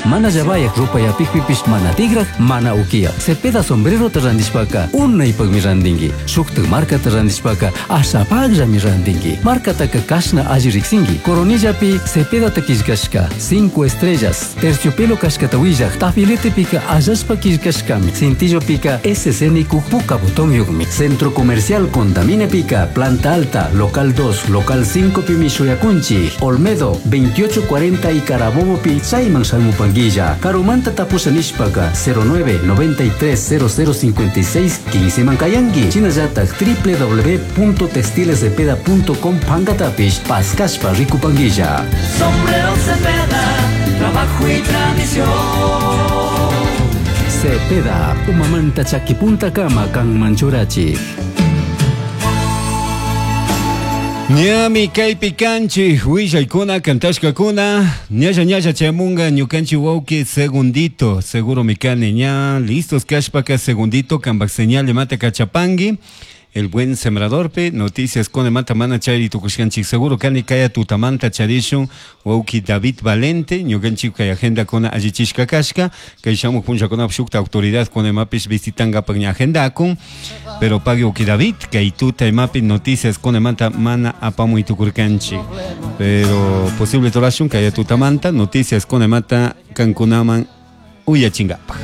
Mana llabayaj rupayapikpipish mana tigraj, mana uquiyaj. Cepeda sombrerota randishpaka unaypakmi randinki. Shuktak markata randishpaka ashapakllami randinki. Markataka kashna alli riksinki. Coronillapi Cepedata killkashka, cinco estrellas, terciopelo kashkata willaj, tafiletepika allashpa killkashkami. Cintillopika SC nikuk puka botonyukmi. Centro Comercial Condaminepika, Planta Alta, Local 2, Local 5 pimi shuyakunchik. Olmedo, 2840 y Carabobopi, chayman shamupanguilla. Karumanta tapusha nishpaka, 09 93 0056 15 mankayanki. Shinallatak www.textilescepeda.com pankatapish paskashpa rikupanguilla. Sombrero Cepeda, trabajo y tradición. Cepeda, umamanta chakipunta kama kanman churachik. Ñami kaypi kanchik willaykuna kantashkakuna ñalla ñalla chayamunga ñukanchik wawki segundito seguro mi kani ña listos kashpaka segundito kanpak señal imata kachapanki el buen sembradorpi noticias con mata mana chari tukushkanchik seguro kani kaya tutamanta charishun wawki David Valente ñukanchik kay agenda kuna allichishka kashka kay shamuq punllakunapi shukta autoridad kuna imapish visitankapak ña agendakun pero pagui wawki David kay tuta imapi noticias kuna manta mana apamuy tukurkanchik pero posible torashun kaya tutamanta noticias kuna mata kankunaman uyachinkapak.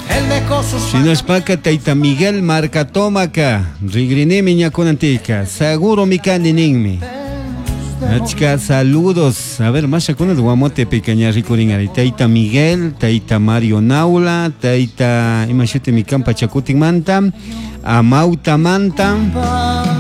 Él dejó sus Shinashpaka tayta Miguel Marcatómaca, rigrinimi ñakunantika, seguro mi kani ninmi. Achka saludos. A ver, mashakuna guamote pequeña rikurinari. Tayta Miguel, tayta Mario Naula, tayta imashuti mi kampa chakutin manta, amauta manta.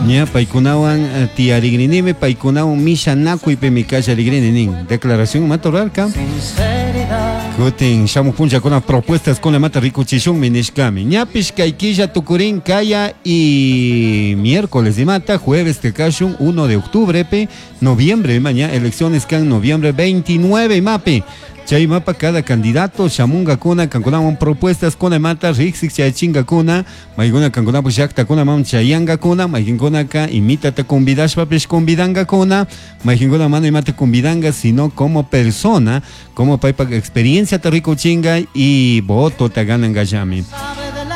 Ña paykunawan tiyarigrinimi, paykunawan mishanakuy mi kallarigrini nin. Declaración matorarka. Sinceridad. Kutin shamuq punllakuna propuestas con la mata rikuchishunmi nishkami. Ñapish kay killa tukurin kaya y miércoles de mata, jueves te kashun 1 de octubre pe, noviembre mañana elecciones kan noviembre 29 mapi. Chay mapa cada candidato shamunga kuna kankunawan propuestas kuna mata riksik chay kuna mayguna kankunapak llaktakuna mam chayanga kuna maykinkunaka imitata convidashpapish convidanga kuna maykinkuna mana imata convidanga sino como persona como paypak experiencia ta rikuchinga y voto ta ganangallami.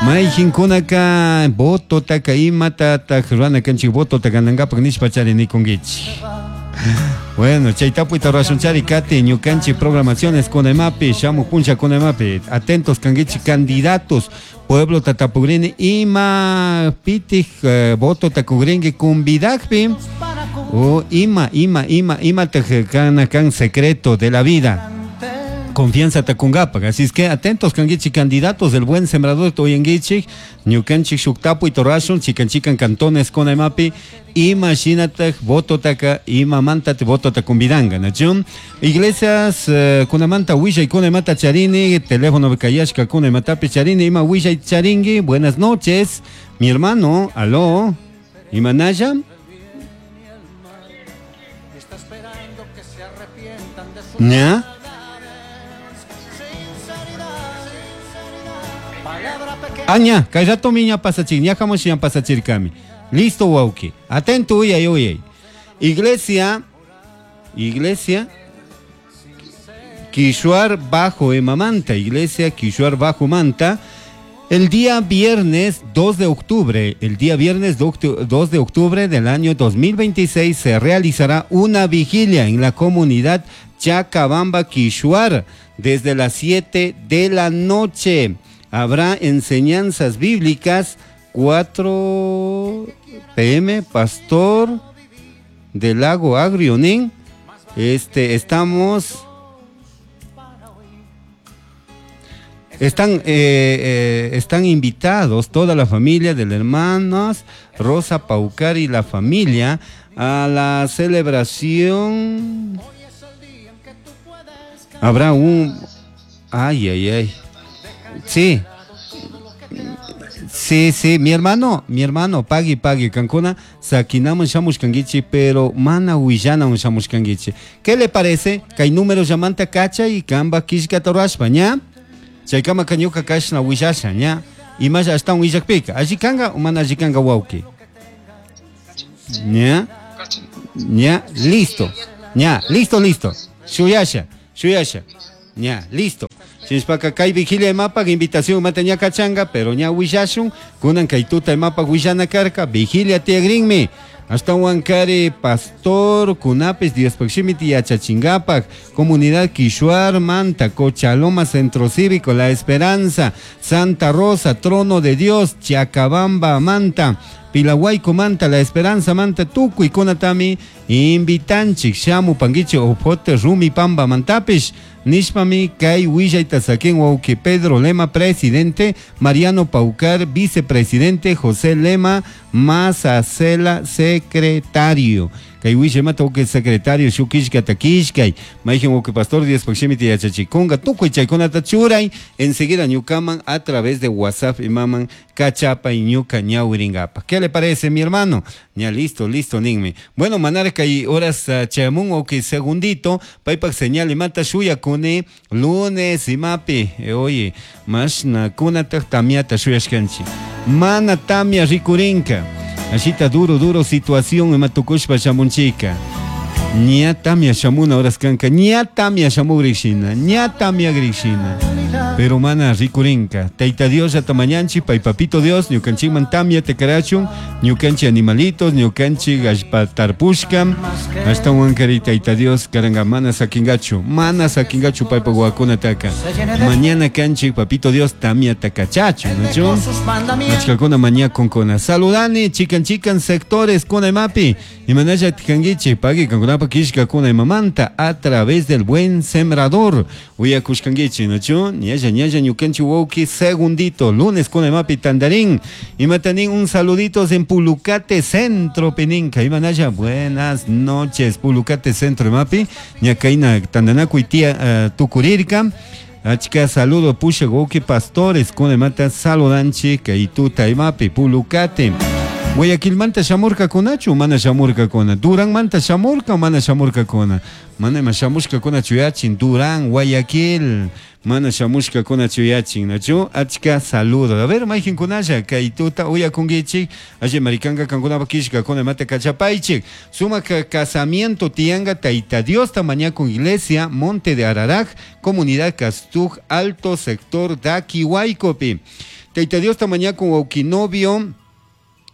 Maykinkunaka voto taka imata ta rurana kanchik voto ta ganangapak nishpa chari nikunkichik. Bueno, chay tapuyta rurashun chari kati ñukanchik programaciones con emapi, shamuq puncha con emapi, atentos kankichik candidatos, pueblo tatapugrini ima pitij voto takugrinki convidakpi o ima, ima, ima, ima tej kana kan secreto de la vida. Confianza takungapak. Así es que atentos kankichik candidatos del buen sembrador toyanguichik, ñukanchik shuk tapuy torashun, chikan chikan cantones con emapi, ima shinatak voto taka, ima mantate voto takumbidanga, nachun. Iglesias kunamanta willay kunamata charini, teléfono bekayashka kunamatapi charini, ima willay charingui, buenas noches, mi hermano, aló, imanaya. ¿Ya? Aña, kay rato miña pasachir, ña jamos ña pasachir kami. Listo, wauki. Atento, uyay, uyay. Iglesia, iglesia, Quishuar Bajo Emamanta, iglesia Quishuar Bajo Manta. El día viernes 2 de octubre, el día viernes 2 de octubre del año 2026 se realizará una vigilia en la comunidad Chacabamba Quishuar desde las 7 de la noche. Habrá enseñanzas bíblicas, 4 P M, pastor del Lago Agrionín. Este, estamos... Están invitados toda la familia de las hermanas Rosa Paucar y la familia a la celebración. Habrá un... Ay, ay, ay. Sí. Sí, sí, mi hermano, mi hermano, pagui, pagui, Cancuna, saquinamos shamushkanguichi, pero mana huillana un shamushkanguichi. ¿Qué le parece? Que hay números llamante cacha y kamba kishka torashpa, ña? Chaykama kañuka kashna huillasha, ña? Y más hasta un huillakpika. Allí kanga o mana allí kanga wauki. Ña? Ña, listo. Ña, listo, listo. Shuyasha, shuyasha. Ña, listo. Shinashpaka kay vigilia imapak invitación imata ña kachanga, pero ña willashun, kunan kay tuta imapak willana karka, vigilia tiyagrinmi. Ashtawan kari pastor kunapis Diospaj shimita yachachingapak, comunidad Quishuar, Manta, Cochaloma, Centro Cívico, La Esperanza, Santa Rosa, Trono de Dios, Chacabamba, Manta, Pilahuayco, Manta, La Esperanza, Manta, tukuy kunatami invitanchik, shamu panguichi opote rumi pamba mantapish, nishpami kay willayta saquin wawqi Pedro Lema, presidente, Mariano Paucar, vicepresidente, José Lema Mazacela, secretario. Kay willamata wawqi secretario shukishkata kishkay, mayjin wawqi pastor Diospaj shimita yachachikunka, tukuy chaykunata churay, enseguida ñukaman a través de WhatsApp imaman kachapay ñuka ñawiringapa. ¿Qué le parece, mi hermano? Ya listo, listo, ninmi. Bueno, manar kay horas chayamun wawqi segundito, paypak señal imata shuyakuni lunes imapi. Oye, mashna kunataj tamiata shuyashkanchik. Mana tamia rikurinka. Ashita duro, duro situación imatukushpa shamunchika. Ña tamia shamuna horas kanka, ña tamia shamugrishina, ña tamia grishina. Pero mana rikurinka. Taita Dios ya tamañanchi, pay papito Dios, ñukanchikman tamia te karachun, ñukanchi animalitos, ñukanchi gallpa tarpushka. Hasta wankari Taita Dios karanga mana sakingachu, mana sakingachu paypa guakunataka. Mañana kanchi papito Dios tamia takachachu, ¿no? Achkakuna mañakunkuna. Saludani, chikan chikan sectores kuna imapi. Imanalla tikanguichi, pagui kankunapa kishkakuna imamanta a través del buen sembrador. Uyakushkanguichi, ¿no? Ñalla, ñalla, ñukanchi wauki segundito, lunes kuna imapi tandarín. Imatanin un saluditos en Pulucate Centro, Peninca. Imanalla, buenas noches, Pulucate Centro imapi. Ñakaina tandanakuy tía tukurirka. Achka saludo pusha wauki pastores kuna imata saludanchi kaytuta imapi Pulucate. Guayaquilmanta shamurkakuna mana shamurkakuna? Duranmanta shamurka mana shamurkakuna? Mana ima shamushkakuna chuyachin Durán, Guayaquil, mana shamushkakuna chuyachin, nachu? Achka saludo. A ver, mayjinkunalla kaytuta uyakunkichik, alli marikanka kankunapa kishkakuna imata kachapaychik. Sumak casamiento tianga Taita Diosta mañakun iglesia, Monte de Araraj, comunidad Castuj, Alto Sector Daquihuaycopi. Taita Diosta mañakun wawkinovio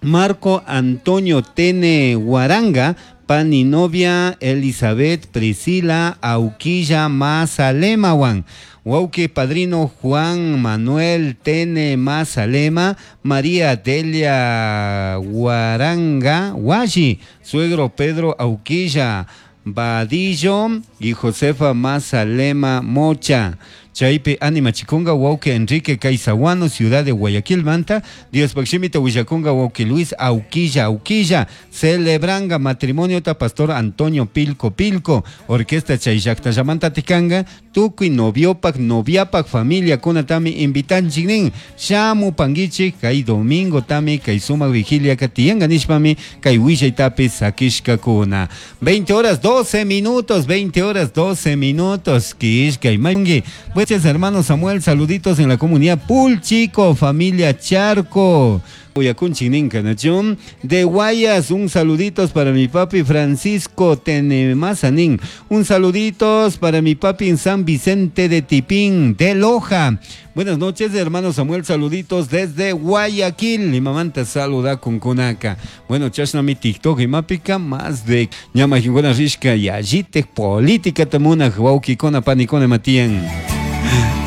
Marco Antonio Tene Huaranga, pani novia Elizabeth Priscila Auquilla Mazalemawan. Wauque padrino Juan Manuel Tene Mazalema, María Delia Huaranga Washi, suegro Pedro Auquilla Vadillo y Josefa Mazalema Mocha. Chaypi anima chikunga wauke Enrique Caizahuano, ciudad de Guayaquil, Manta. Dios Paximita Huillakunga wauke Luis Auquilla Auquilla. Celebranga matrimonio ta pastor Antonio Pilco Pilco. Orquesta Chayllacta Yamanta Tikanga. Tukuy noviopak, noviapak, familia kunatami invitanchiknin. Shamu panguichi, kay domingo tami, kay sumak vigilia katiyanga nishpami, kay willaytapi sakishkakuna. 20 horas 12 minutos, 20 horas 12 minutos. Kishkay mayungi. Gracias, hermano Samuel, saluditos en la comunidad Pulchico, familia Charco. Uyakunchininka, ¿no? De Guayas, un saluditos para mi papi Francisco Tenemazanín. Un saluditos para mi papi en San Vicente de Tipín, de Loja. Buenas noches, hermano Samuel, saluditos desde Guayaquil. Mi mamá te saluda con Kunaka. Bueno, chasna mi TikTok y mapica más de ñama jingona rishka y allite política tamuna wauki kona panikona matian.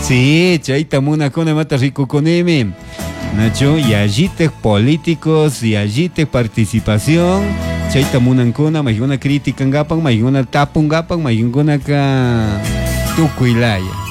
Sí, chaita muna kona mata rico coneme. Nacho, y allite políticos, y allite participación. Chaita munankuna, mayuna crítica ngapan, mayuna tapungapan, mayuna ka tukuilaya.